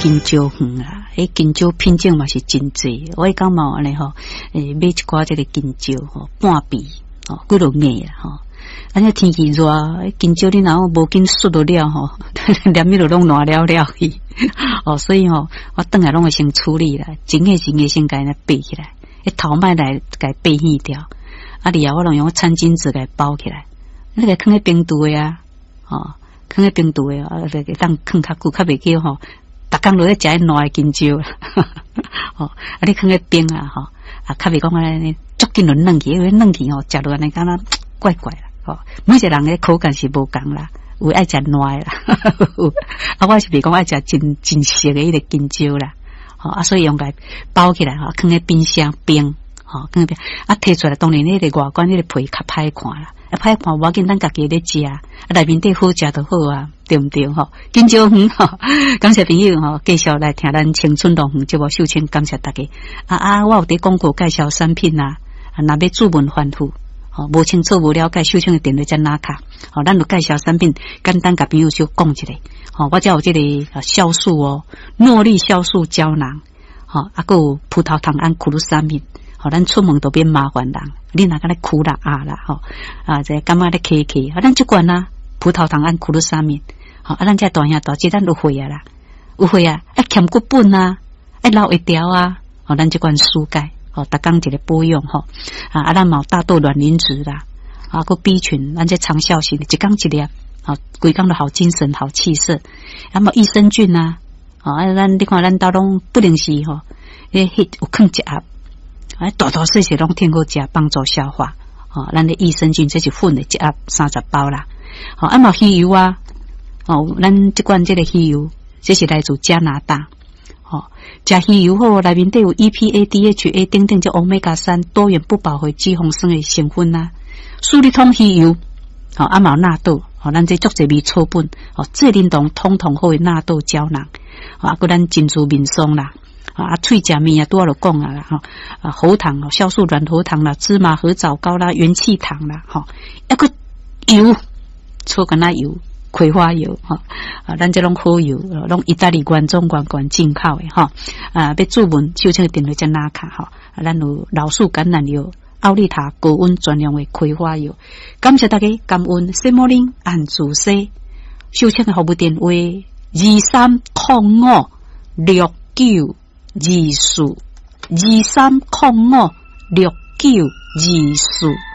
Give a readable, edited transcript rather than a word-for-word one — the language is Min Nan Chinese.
香蕉園啦，彼香蕉品種嘛是真濟。我彼工嘛有按呢吼，買一寡這个香蕉吼，半皮吼，幾落硬啦吼。按呢天氣熱，香蕉你若講無緊雪落了吼，連物就攏爛了了去。哦，所以吼，我轉來攏會先處理啦，整個整個先共伊拔起來，彼頭莫來共拔去掉。啊，然後我攏用餐巾紙共包起來，你共囥佇冰櫥的啊，吼，囥佇冰櫥的，啊，會當囥較久，較袂叫吼，逐工落咧食彼爛的香蕉，吼，啊，你囥佇冰啊，吼，啊，較袂講按呢足緊就軟去，因為軟去吼，食落按呢感覺怪怪啦，吼，每一個人的口感是無仝啦，有愛食爛的啦，啊，我是袂講愛食真真熟的彼个香蕉啦，吼，啊，所以用共包起來吼，囥佇冰箱冰。吼，囥佇啊，提出來當然彼个外觀彼个皮較歹看啦，啊歹看無要緊，咱家己咧食，啊內面底好食就好啊，對毋對吼？香蕉園吼，感謝朋友吼，繼續來聽咱青春樂園節目，秀清感謝大家。啊啊，我有佇廣告介紹產品啊，啊若欲諮問反覆，吼無清楚無了解，秀清的電話才拿卡，吼，咱有介紹產品，簡單共朋友小講一下，吼，我遮有這个酵素哦，諾麗酵素膠囊，吼，啊閣有葡萄糖胺苦魯三敏。吼，咱出門都免麻煩人，你若敢咧苦啦啊啦吼，啊這感覺咧咳咳，啊咱這罐啊，葡萄糖胺苦魯三敏，吼啊咱這大兄大姐咱有血壓啦，有血壓，愛欠骨本啊，愛老會條啊，吼咱這罐舒鈣，吼逐工一个保養吼，啊啊咱嘛有大豆卵磷脂啦，啊閣 B 群，咱這長效型的，一工一粒，吼規工都好精神好氣色，啊嘛益生菌啊，吼啊咱你看咱兜攏不定時吼，彼有囥一盒。啊，大大細細攏挺好食，幫助消化。吼，咱的益生菌這是粉的，一盒30包啦。吼，啊嘛魚油啊，哦，咱這罐這个魚油，這是來自加拿大。吼，食魚油好，內面底有 EPA、DHA 等等，這歐米伽三多元不飽和脂肪酸的成分啊。舒利通魚油，吼，啊嘛有納豆，吼，咱這足濟味草本，吼，這啉當通通好的納豆膠囊。啊，閣咱珍珠面霜啦。啊，喙食物啊，拄仔就講啊啦，吼啊，喉糖哦，酵素軟喉糖啦，芝麻核棗膏啦，元氣糖啦，吼，抑閣油，草橄欖油、葵花油，吼啊，咱這攏好油，攏意大利原裝原罐進口的，吼啊，欲諮問秀清的電話才拿卡，吼，啊，咱有老樹橄欖油、奧利塔高溫專用的葵花油，感謝大家，感恩西摩林按主西，秀清的服務電話23056924，23056924。